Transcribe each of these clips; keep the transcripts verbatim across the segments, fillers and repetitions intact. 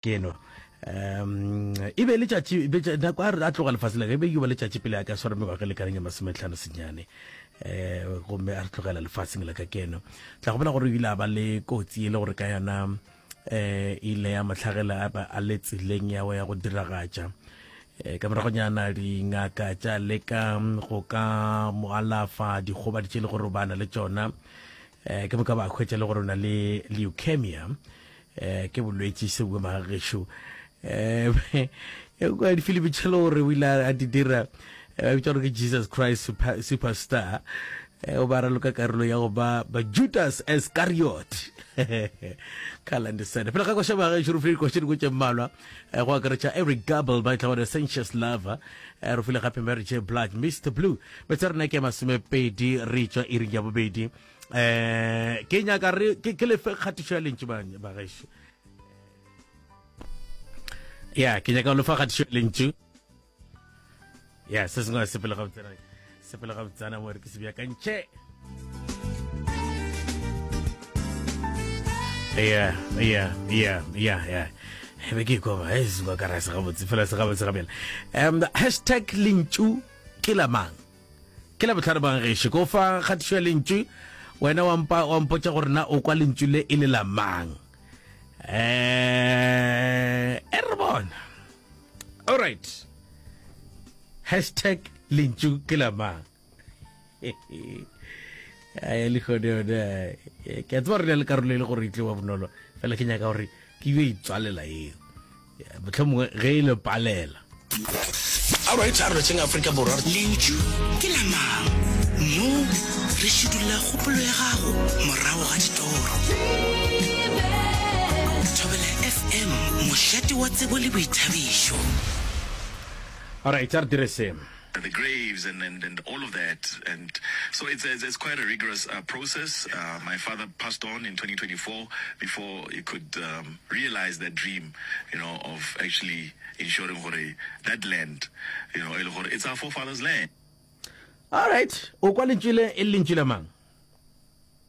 Keno um e be letšatši nako a tloga lefase la e be e ba letšatši pele a ka swara mengwaga e lekaneng ya masometlhano senyane um gomme a re tlogela lefatsheng la ka keno. Tla gopola gore o ile a ba le kotsi e le gore ka yona um ile ya mohlagela a le tseleng ya go ya go diragatša. Um ka moragonyana dingaka tša leka go ka mo alafa dikgobadi tše le gore o bana le tšona, um ke moka ba hwetša le gore o na le leukemia, um ke bolwetši se bua magagešo. Um kwa difilimi tše le gore o ile a di dira ba bitša gore ke Jesus Christ super, Superstar, o ba raloka karolo ya go ba ba Judas Iscariot ka Landisene. Pele ga koša magagešo re file dikoša dingwe tše mmalwa, go akaretša Eric Gable ba tla Sensuous Lover, re file gape Mary J Blige Mister Blue. Metsi a rena ke masomepedi re tšwa iring ya bobedi. Eh ke nyaka re ke lefe kgatišo ya lentšu bagešo. Ya ke nyaka go lefa kgatišo ya lentšu. Ya se sengwe se pele ga botsana, se pele ga botsana mo re ke se beakantšhe. Ya ya ya ya ya be ke ikwa ba e se ka ra se gabotse fela se gabotse gabela. Um hashtag lentšu ke la mang? Ke la bohlare bang gešo ko fa kgatišo ya lentšu wena wa mpa wa mpotša gore na o kwa lentšu le e le la mang. Eh e re bona. All right. Hashtag lentšu ke la mang. Ai le gone yone ke a tseba re le karolo e le gore e tlewa bonolo fela ke nyaka gore ke yo itswalela eo. Mohlomongwe ge e le palela. All right, a re lotšheng Afrika Borwa. Lentšu ke la mang? Mo re šidulla kgopolo ya gago morago ga ditoro. Thobela F M, mošate wa tsebo le boithabišo. All right, a re dire se. The graves and, and, and all of that. And so it's, it's, it's quite a rigorous uh, process. Uh, my father passed on in twenty twenty-four before he could um, realize that dream, you know, of actually ensuring gore that land, you know, it's our forefathers' land. All right. O kwa lentšu le e lentšu la mang?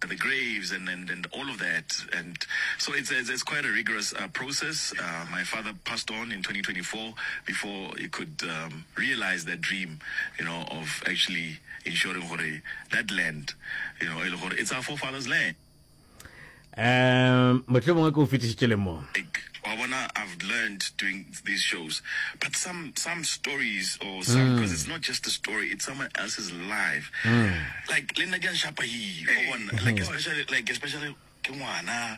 The graves and, and, and all of that. And so it's, it's, it's quite a rigorous uh, process. Uh, my father passed on in twenty twenty-four before he could um, realize that dream, you know, of actually ensuring gore that land, you know, it's our forefathers' land. Um, mohlomongwe ke o fetišitše le mo. Like, wa bona, I've learned doing these shows, but some some stories or some, because mm. it's not just a story, it's someone else's life. Mm. Like le nna ke a nshapa hi, wa bona, like especially like especially ke ngwana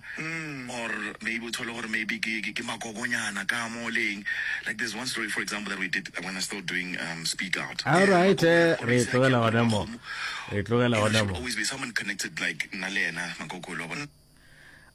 or maybe o thole gore maybe ke ke makokonyana ka mo leng. Like there's one story, for example, that we did when I was still doing um, Speak Out. All right, re tlogela gona mo. Re tlogela gona mo. Always be someone connected like nna le yena makokolo, wa bona.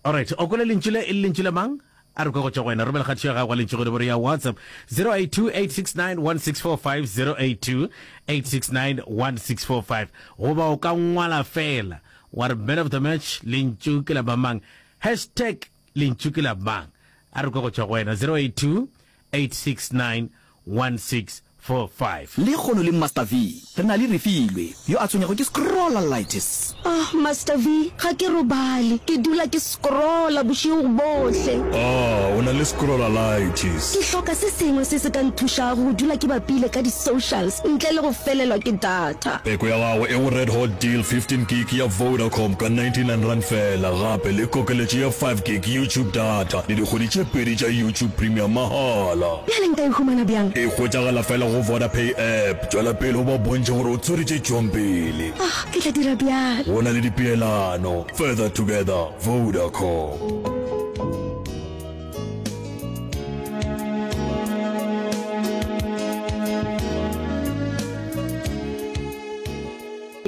All right, o kwele lentšu le e le lentšu la mang? A re kwa go tšwa go wena. Romela kgatišo ya gago lentšu go nomoro ya WhatsApp zero eight two eight six nine one six four five, zero eight two eight six nine one six four five. Goba o ka ngwala fela wa re man of the match lentšu ke la mang, hashtag lentšu ke la mang. A re kwa go tšwa go wena zero eight two eight six nine one six four five. Le kgono le Master V, re na le Refilwe yo a tshwenyago ke scrollalitis. Ah, Master V, ga ke robale, ke dula ke scrolla bošego bohle. Ah, o na le scrollalitis. Ke hloka se sengwe se se ka nthušago go dula ke bapile ka di-socials ntle le go felelwa ke data. Peko ya gago e go Red Hot Deal fifteen gig ya Vodacom ka ninety-nine rand fela, gape le kokeletšo ya five gig YouTube data le dikgwedi tše pedi tša YouTube Premium mahala. Bjale nka e humana bjang? E hwetšagala fela go Vodapay app. Tšwela pele o ba bontšhe gore o tshwere tše tšwang pele. Ah, ke tla dira bjalo. Go na le dipeelano. Further together, Vodacom.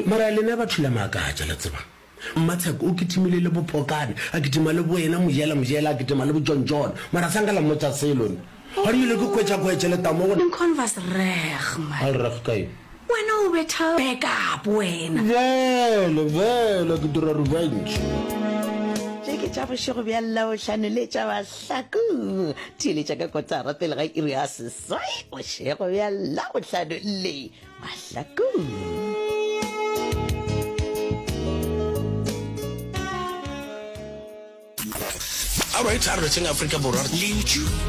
Mara lena batho la makatša, la tseba. Mmatsheko o kitimile le bophokane, a kitima le boena mojela mojela, a kitima le boJohn John. Mara sa nka la mmotša selo ne. Ga rile ke khwetša-khwetše le tamo go. Lincoln was reg man. A reg kae? Wena o betha back up wena. Vele, vele ke dira revenge. Tše ke tša bošego bja Labohlano le tša Bahlakong. Theeletša ka kotara pele ga iri ya seswai bošego bja Labohlano le Bahlakong. All right, a re lotšheng Afrika Borwa. Lentšu